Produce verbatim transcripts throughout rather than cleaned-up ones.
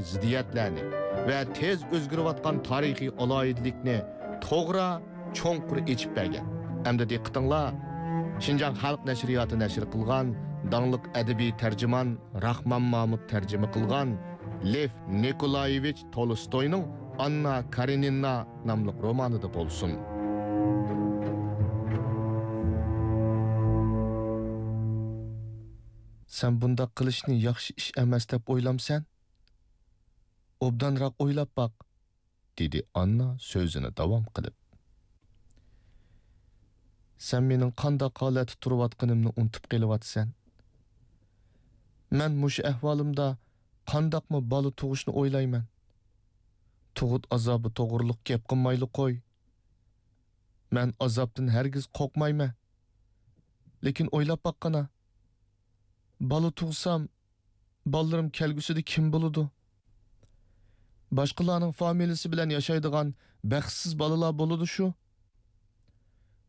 زىددىيەتلەرنى ۋە تېز ئۆزگىرىۋاتقان تارىخىي ئالاھىدىلىكنى توغرا، چوڭقۇر ئېچىپ بەرگەن. ئەمدى دىققىتىڭلار، شىنجاڭ خەلق نەشرىياتى نەشر قىلغان داڭلىق ئەدەبىي تەرجىمان راخمان مامۇت تەرجىمە قىلغان لېف نىكولايېۋىچ تولستوينىڭ ئاننا كارېنىنا ناملىق رومانىدا بولسۇن. سەن بۇنداق قىلىشنى ياخشى ئىش ئەمەس دەپ ئويلامسەن؟ ئوبدانراق ئويلاپ باق، دېدى ئاننا سۆزىنى داۋام قىلىپ. سەن مېنىڭ قانداق ھالەتتە تۇرۇۋاتقىنىمنى ئۇنتۇپ قېلىۋاتىسەن. مەن مۇشۇ ئەھۋالىمدا قانداقمۇ بالا تۇغۇشنى ئويلايمەن؟ تۇغۇت ئازابى توغرۇلۇق گەپ قىلمايلى قوي. مەن ئازابتىن ھەرگىز قورقمايمەن. لېكىن ئويلاپ باققىنا، بالا تۇغسام، بالىلىرىم كەلگۈسىدە كىم بولىدۇ؟ باشقىلارنىڭ فامىلىسى بىلەن ياشايدىغان بەختسىز بالىلار بولىدۇ شۇ.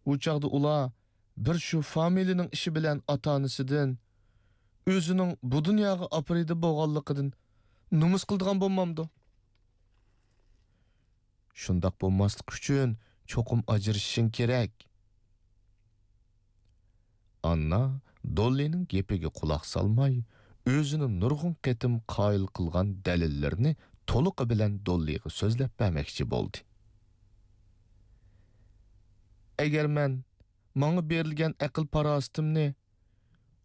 ئۇ چاغدا ئۇلار بىر شۇ فامىلىنىڭ ئىشى بىلەن ئاتا-ئانىسىدىن، ئۆزىنىڭ بۇ دۇنياغا ئاپىرىدە بولغانلىقىدىن نومۇس قىلىدىغان بولمامدۇ؟ شۇنداق بولماسلىقى ئۈچۈن چوقۇم ئاجرىشىشىڭ كېرەك. ئاننا دوللىنىڭ گېپىگە قۇلاق سالماي، ئۆزىنى نۇرغۇن قېتىم قايىل قىلغان دەلىللىرىنى تولۇقى بىلەن دوللىغا سۆزلەپ بەرمەكچى بولدى. ئەگەر مەن ماڭا بېرىلگەن ئەقىل-پاراسىتىمنى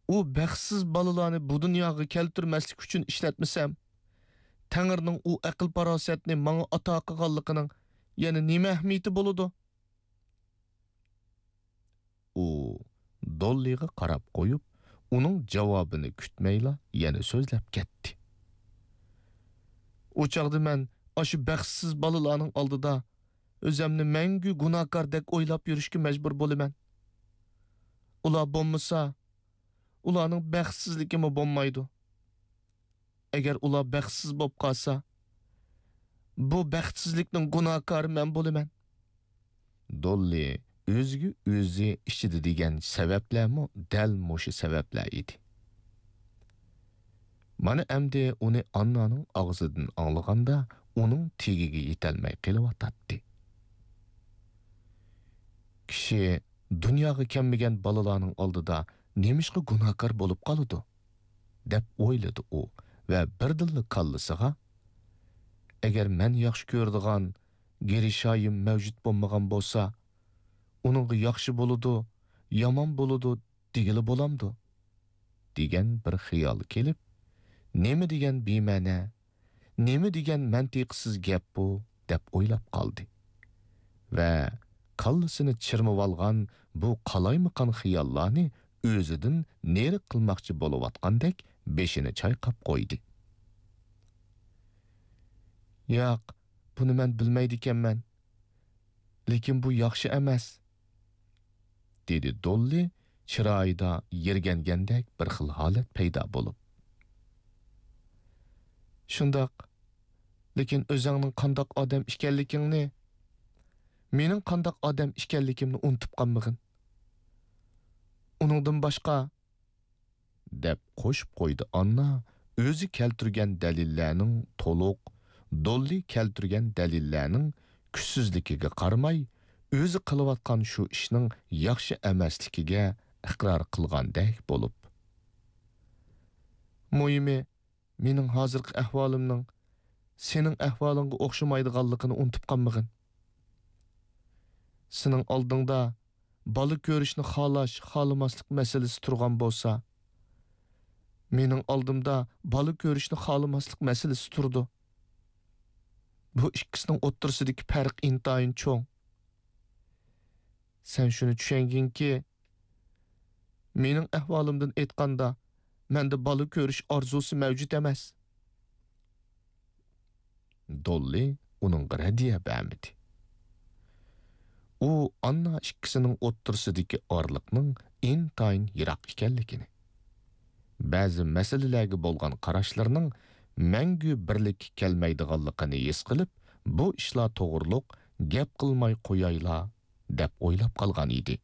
ئۇ بەختسىز بالىلارنى بۇ دۇنياغا كەلتۈرمەسلىك ئۈچۈن ئىشلەتمىسەم، تەڭرىنىڭ ئۇ ئەقىل-پاراسەتنى ماڭا ئاتا قىلغانلىقىنىڭ يەنە نېمە ئەھمىيىتى بولىدۇ؟ ئۇ دوللىغا قاراپ قويۇپ، ئۇنىڭ جاۋابىنى كۈتمەيلا يەنە سۆزلەپ كەتتى. ئۇ چاغدا مەن ئاشۇ بەختسىز بالىلارنىڭ ئالدىدا ئۆزەمنى مەڭگۈ گۇناھكاردەك ئويلاپ يۈرۈشكە مەجبۇر بولىمەن. ئۇلار بولمىسا، ئۇلارنىڭ بەختسىزلىكىمۇ بولمايدۇ. ئەگەر ئۇلار بەختسىز بولۇپ قالسا، بۇ بەختسىزلىكنىڭ گۇناھكارى مەن بولىمەن. دوللى ئۆزىگە ئۆزى ئىچىدە دېگەن سەۋەبلەرمۇ دەل مۇشۇ سەۋەبلەر ئىدى. مانا ئەمدى ئۇنى ئاننانىڭ ئاغزىدىن ئاڭلىغاندا، ئۇنىڭ تېگىگە يېتەلمەي قېلىۋاتاتتى. كىشى دۇنياغا كەلمىگەن بالىلارنىڭ ئالدىدا نېمىشقا گۇناھكار بولۇپ قالىدۇ؟ دەپ ئويلىدى ئۇ ۋە بىردىنلا كاللىسىغا، ئەگەر مەن ياخشى كۆرىدىغان گىرىشايىم مەۋجۇت بولمىغان بولسا، ئۇنىڭغا ياخشى بولىدۇ، يامان بولىدۇ دېگىلى بولامدۇ؟ دېگەن بىر خىيال كېلىپ، نېمە دېگەن بىمەنە، نېمە دېگەن مەنتىقسىز گەپ بۇ، دەپ ئويلاپ قالدى. ۋە كاللىسىنى چىرمىۋالغان بۇ قالايمىقان خىياللارنى ئۆزىدىن نېرى قىلماقچى بولۇۋاتقاندەك بېشىنى چايقاپ قويدى. ياق، بۇنى مەن بىلمەيدىكەنمەن. لېكىن بۇ ياخشى ئەمەس. دېدى دوللى چىرايىدا يىرگەنگەندەك بىر خىل ھالەت پەيدا بولۇپ. شۇنداق، لېكىن ئۆزۈڭنىڭ قانداق ئادەم ئىكەنلىكىڭنى، مېنىڭ قانداق ئادەم ئىكەنلىكىمنى ئۇنتۇپ قالمىغىن. ئۇنىڭدىن باشقا، دەپ قوشۇپ قويدى ئاننا، ئۆزى كەلتۈرگەن دەلىللەرنىڭ تولۇق، دوللى كەلتۈرگەن دەلىللەرنىڭ كۈچسىزلىكىگە قارىماي، ئۆزى قىلىۋاتقان شۇ ئىشنىڭ ياخشى ئەمەسلىكىگە ئىقرار قىلغاندەك بولۇپ. مۇھىمى، مېنىڭ ھازىرقى ئەھۋالىمنىڭ سېنىڭ ئەھۋالىڭغا ئوخشىمايدىغانلىقىنى ئۇنتۇپ قالمىغىن. سېنىڭ ئالدىڭدا بالا كۆرۈشنى خالاش، خالىماسلىق مەسىلىسى تۇرغان بولسا، مېنىڭ ئالدىمدا بالا كۆرۈشنى خالىماسلىق مەسىلىسى تۇرىدۇ. بۇ ئىككىسىنىڭ ئوتتۇرىسىدىكى پەرق ئىنتايىن چوڭ. سەن شۇنى چۈشەنگىنكى، مېنىڭ ئەھۋالىمدىن ئېيتقاندا، مەندە بالا كۆرۈش ئارزۇسى مەۋجۇت ئەمەس. دوللى ئۇنىڭغا رەددىيە بەرمىدى. ئۇ ئاننا ئىككىسىنىڭ ئوتتۇرىسىدىكى ئارىلىقنىڭ ئىنتايىن يىراق ئىكەنلىكىنى، بەزى مەسىلىلەرگە بولغان قاراشلىرىنىڭ مەڭگۈ بىرلىككە كەلمەيدىغانلىقىنى ھېس قىلىپ، بۇ ئىشلار توغرۇلۇق گەپ قىلماي قويايلا، دەپ ئويلاپ قالغان ئىدى.